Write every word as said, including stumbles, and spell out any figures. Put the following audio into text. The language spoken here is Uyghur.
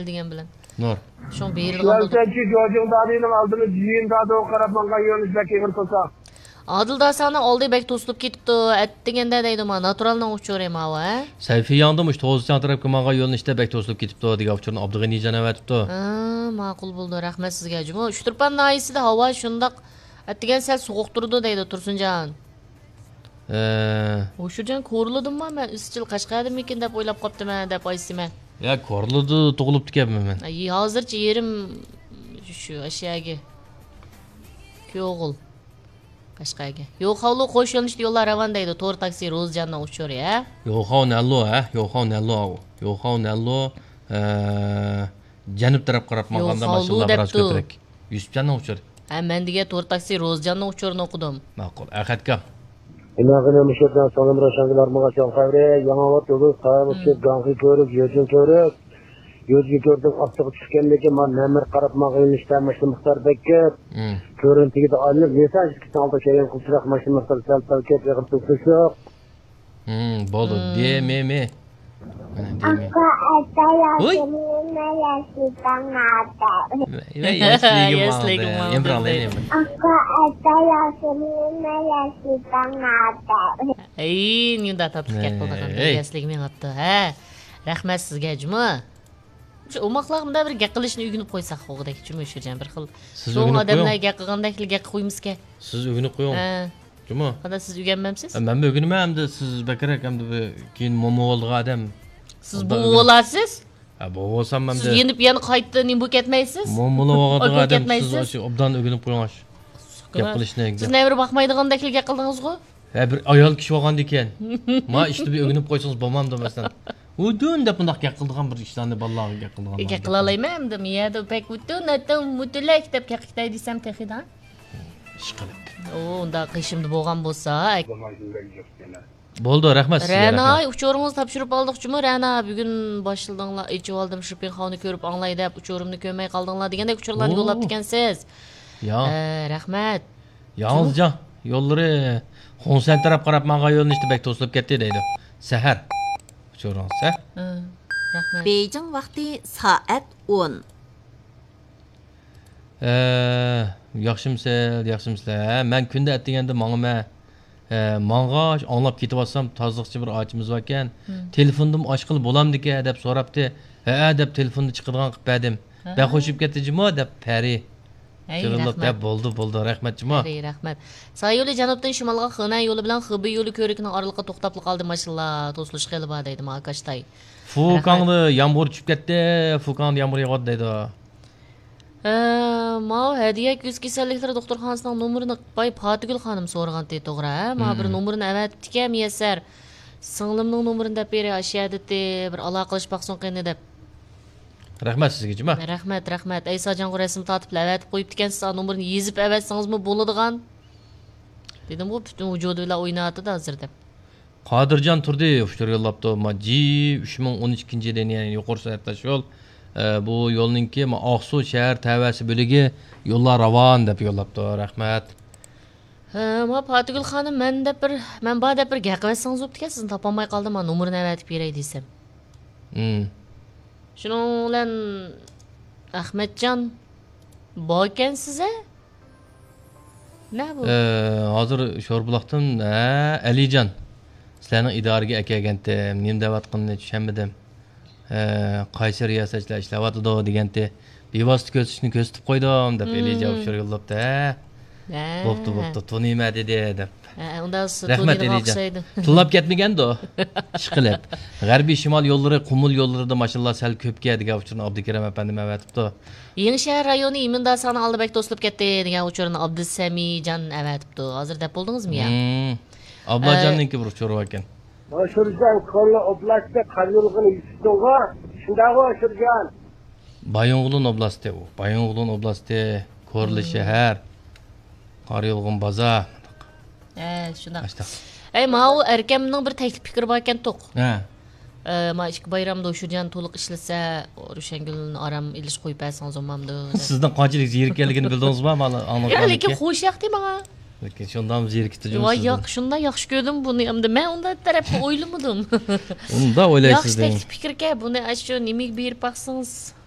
دېگەن بىلەن. نۇر. شۇڭا بېرىدىغان بولدۇم. شۇ جوجۇڭ دادىنىڭ ئالدىنى جىيىن دادىغا قاراپ ماڭغان يۆنىلىش بەك ئېغىر تۇرسا. ئادىل داساڭنىڭ ئالدى بەك توسۇلۇپ كېتىپتۇ. ئەتىگەندە دەيدۇ، ما، ناتۇرالنىڭ ئۇچۇرى ماۋۇ، ھە؟ سەيفىياڭدىمۇ شۇ توزىچاڭ تەرەپكە ماڭغان يۆنىلىشتە بەك توسۇلۇپ كېتىپتۇ دېگەن ئۇچۇرنى ئابدۇغېنىجان ئەۋەتىپتۇ. ھە، ماقۇل بولدى. رەھمەت سىزگە جۇمۇ. ئۇچتۇرپان ناھىيەسىدە ھاۋا شۇنداق ئەتىگەن سەل سوغۇق تۇرىدۇ دەيدۇ تۇرسۇنجان. ئە. ھوشۇرجان كورلىدىمما مەن ئىزچىل قەشقەردىمىكىن دەپ ئويلاپ قاپتىمەن دەپ ئايسىمەن. يا، كورلىدا تۇغۇلۇپتىكەنمەن مەن. ئەي، ھازىرچە يېرىم شۇ ئەشياگە. كۆغۇل. قەشقەرگە. يوخاۋلۇ قوش يۆنىلىشتە يوللار راۋان دەيدۇ. تور تاكسى روزىجاننىڭ ئۇچۇرى، ھە؟ يوخاۋ نەللۇ، ھە؟ يوخاۋ نەللۇ ئاۋۇ. يوخاۋ نەللۇ، ئە، جەنۇب تەرەپ قاراپ ماڭغاندا يوخاۋلۇ ماشىنىلار بىراز دەپتۇ. كۆپرەك. يۈسۈپجاننىڭ ئۇچۇرى. ھە، مەن دېگەن تور تاكسى روزىجاننىڭ ئۇچۇرىنى ئوقۇدۇم. ماقۇل. ئەخەتكا. ئىناغىنى مۇشۇ بىلەن سالام راشانگىلار ماڭا چوڭ خەۋرى. ياڭاۋات يولى، قايا مۇشۇ، ھىم. گاڭخى كۆۋرۈك، يۆجۈن كۆۋرۈك. يۆجگە كۆردۈم، ئاپتىغا چۈشكەندىن كېيىن، مانا نەمەر قاراپ ماڭغان يۆنىلىشتە ماشىنا مىقدارى بەك كۆپ. مم. كۆرۈنتىگە ئايلىنىپ، نېسان ئىككىسىنىڭ ئالدىغا كەلگەن قىلچىراق ماشىنا مىقدارى سەل پەل كۆپ، ئېغىر تۆكۈش يوق. مم، بولدى. مم. دې مې مې. مانا دې مې. ئاكا، ئاتا، ۋوي. ياسىمىن، ياسىداڭ، ئاتا. ۋە، ۋە، ياسلىگىم ياسلىگىم ماڭدى. ماڭدى. يېمىراڭ، يېمىراڭ. ئاكا، ئاتا، ياسىمىن، ياسىداڭ، ئاتا. ئەي، نېمانداق تاتلىق گەپ قىلىدىغان، ھەي. ياسلىگىم مېڭىپتۇ، ھە. رەھمەت سىزگە جۇمۇ. شۇ ئوماقلارغا مۇنداق بىر گەپ قىلىشنى ئۆگىنىپ قويساق، ئوغدەك، جۇمۇ شۇجان بىر خىل. سىز چوڭ ئۆگىنىپ ئادەملەر قويۇڭ. گەپ قىلغاندەكلا گەپ قىلىپ قويمىسىكەن. سىز ئۆگىنىپ قويۇڭ. ھە. جۇمۇ. قانداق، سىز ئۆگەنمەمسىز؟ ئە، مەنمۇ ئۆگىنىمەن، ئەمدى سىز بەكرەك، ئەمدى بىر كېيىن مومو بولىدىغان ئادەم. سىز ئوبدان بوۋا ئۆگىنىپ بولارسىز. ھە، بوۋا بولسام ئەمدى. سىز يېنىپ يەنە قايتا نېمە بولۇپ كەتمەيسىز؟ مومو بولۇۋالىدىغان ئادەم سىز كەتمەيسىز. ئاشۇ ئوبدان ئۆگىنىپ قويۇڭ ئاشۇ. گەپ قىلىشنى. سىز نەۋرە باقمايدىغاندەكلا گەپ قىلدىڭىزغۇ؟ ھە، بىر ئايال كىشى بولغاندىكىن. ما ئىشتا بىر ئۆگىنىپ قويسىڭىز بولمامدۇ، مەسىلەن. ئۇدۇن دەپ مۇنداق گەپ قىلىدىغان بىر ئىشلارنى بالىلارغا گەپ قىلىدىغان. گەپ قىلالايمەن ئەمدى. مۇ يەردە بەك ئۇدۇن، ئەتە مۇتلەك دەپ گەپ قىلىپ كەتمەي دېسەم تېخىدا. ئىشقىلىپ. ئۇ ئۇنداق قېشىمدا بولغان بولسا. بولدى، رەھمەت سىزگە، رەنا، رەھمەت. ئۇچۇرىڭىزنى تاپشۇرۇپ ئالدۇق جۇمۇ، رەنا. بۈگۈن باشلىدىڭلار، ئېچىۋالدىم، شۇپىڭ خاۋنى كۆرۈپ ئاڭلاي دەپ، ئۇچۇرۇمنى كۆرمەي قالدىڭلار دېگەندەك ئۇچۇرلارنى يوللاپتىكەنسىز. يا. ئە، رەھمەت. ياڭزىجاڭ يوللىرى خۇڭسەن تەرەپ قاراپ ماڭغان يۆنىلىشتە بەك توسۇلۇپ كەتتى دەيدۇ. سەھەر. ئۇچۇرىڭىز، ھە؟ ھە، رەھمەت. بېيجىڭ ۋاقتى سائەت ئون. ئە، ياخشىمۇسىز، ياخشىمۇسىلەر؟ ھە، مەن كۈندە ئەتىگەندە ماڭىمەن. ئە، ماڭغاچ ئاڭلاپ كېتىۋاتسام، تازىلىقچى بىر ئاچىمىز باركەن. ھىم. تېلېفوندىمۇ ئاچقىلى بولامدىكەن دەپ سوراپتۇ. ھەئە دەپ تېلېفوننى چىقىدىغان قىلىپ بەردىم. ھە. بەك خوش بولۇپ كەتتى جۇمۇ دەپ پەرى. ئەي، جۇمۇ رەھمەت. دەپ بولدى، بولدى، رەھمەت جۇمۇ. پەرى، رەھمەت. سايولى جەنۇبتىن شىمالغا خېنەن يولى بىلەن خېبېي يولى كۆۋرۈكىنىڭ ئارىلىقىدا توختاپلا قالدى ماشىنىلار، توسۇلۇش خېلى بار دەيدۇ ماكاشتاي. فۇكاڭدا رەھمەت. يامغۇر چۈشۈپ كەتتى، فۇكاڭدا يامغۇر ياغىدۇ دەيدۇ. ھە، ماۋۇ ھەدىيە كۆز كېسەللىكلىرى دوختۇرخانىسىنىڭ نومۇرىنى باي پاتىگۈل خانىم سورىغانتى، توغرا، ھە؟ ماۋۇ بىر مم. نومۇرنى ئەۋەتىپتىكەن مىيەسەر. سىڭلىمنىڭ نومۇرىنى دەپ بېرەي، ئاشۇ يەردىتى، بىر ئالاقىلىشىپ باقسۇن قېنى دەپ. رەھمەت سىزگە جۇمۇ. رەھمەت، رەھمەت. ئەي ساجانغا رەسىم تارتىپلا ئەۋەتىپ قويۇپتىكەنسىز، نومۇرنى يېزىپ ئەۋەتسىڭىزمۇ بولىدىغان. دېدىمغۇ، پۈتۈن ۋۇجۇدى بىلەن ئويناۋاتىدۇ ھازىر دەپ. قادىرجان تۇردى ئۇچۇر يوللاپتۇ. ما جى ئۈچ مىڭ ئون ئىككىنچى يىلى، يەنى يۇقىرى سۈرئەت تاشيول. ئە، بۇ يولنىڭكى، ما، ئاقسۇ شەھەر تەۋەسى بۆلىكى يوللار راۋان دەپ يوللاپتۇ. رەھمەت. ھە، ما پاتىگۈل خانىم، مەن دەپ بىر، مەن بار دەپ بىر گەپ قىلىۋەتسىڭىز بوپتىكەن، سىزنى تاپالماي قالدىم، ما نومۇرىنى ئەۋەتىپ بېرەي دېسەم. ھىم. شۇنىڭ بىلەن ئەخمەتجان باركەنسىز ھە؟ نە بۇ؟ ئە، ھازىر شوربۇلاقتىن، ھە، ئەلىجان. سىلەرنىڭ ئىدارىگە ئەكەلگەنتىم. نېمە دەۋاتقىنىنى چۈشەنمىدىم. ئە، قايسى رىياسەتچىلەر ئىشلەۋاتىدۇ دېگەنتى. بىۋاسىتە كۆرسىتىشنى كۆرسىتىپ قويدۇم دەپ، مم. ئېلىجان ئۇچۇر يوللاپتۇ، ھە. ھە. بوپتۇ، بوپتۇ، تونۇيمەن دېدى دەپ. ھە، ئۇنداق سىز رەھمەت، تونۇيدىغان ئېلىجان. ئوخشايدۇ. تىللاپ كەتمىگەندۇ؟ ئىشقىلىپ. غەربىي شىمال يوللىرى، قۇمۇل يوللىرىدا ماشىنىلار سەل كۆپكەن دېگەن ئۇچۇرنى ئابدۇكېرەم ئەپەندىم ئەۋەتىپتۇ. يېڭىشەھەر رايونى ئىمىنداسانىڭ ئالدى بەك توسۇلۇپ كەتتى دېگەن ئۇچۇرنى ئابدۇسەمىجان ئەۋەتىپتۇ. ھازىر دەپ بولدىڭىزمۇ يا؟ مم. ئابلاجاننىڭكى بىر ئۇچۇرى باركەن. ئاشۇرجان، كورلا ئوبلاستى قاريولغىنى يېتىشتىڭغۇ؟ شۇنداقغۇ، ئاشۇرجان؟ بايىنغولىن ئوبلاستى ئۇ. بايىنغولىن ئوبلاستى، كورلا مم. شەھەر، قاريولغۇن بازار. ھە، شۇنداق. ئاشتاق. ئەي، ماۋۇ ئەركەمنىڭ بىر تەكلىپ پىكرى باركەن توق. ھە. ئە، ما ئىككى بايرامدا ئۇشۇرجان تولۇق ئىشلىسە، روشەنگۈلنى ئارام ئېلىش قويۇپ بەرسىڭىز بولمامدۇ؟ سىزنىڭ قانچىلىك زېرىككەنلىكىنى بىلدىڭىزما؟ مانا، يا، لېكىن خوش ياقتى ماڭا. لېكىن شۇنداقمۇ زېرىكتى جۇمۇ ۋاي، سىزدىن؟ ياق، شۇنداق ياخشى كۆردۈم بۇنى. ئەمدى مەن ئۇنداق تەرەپكە ئويلىمىدىم. ئۇنداق ئويلايسىز ياخشى دەيمەن. تەكلىپ پىكىركەن، بۇنى ئاشۇ نېمىگە بېرىپ باقسىڭىز.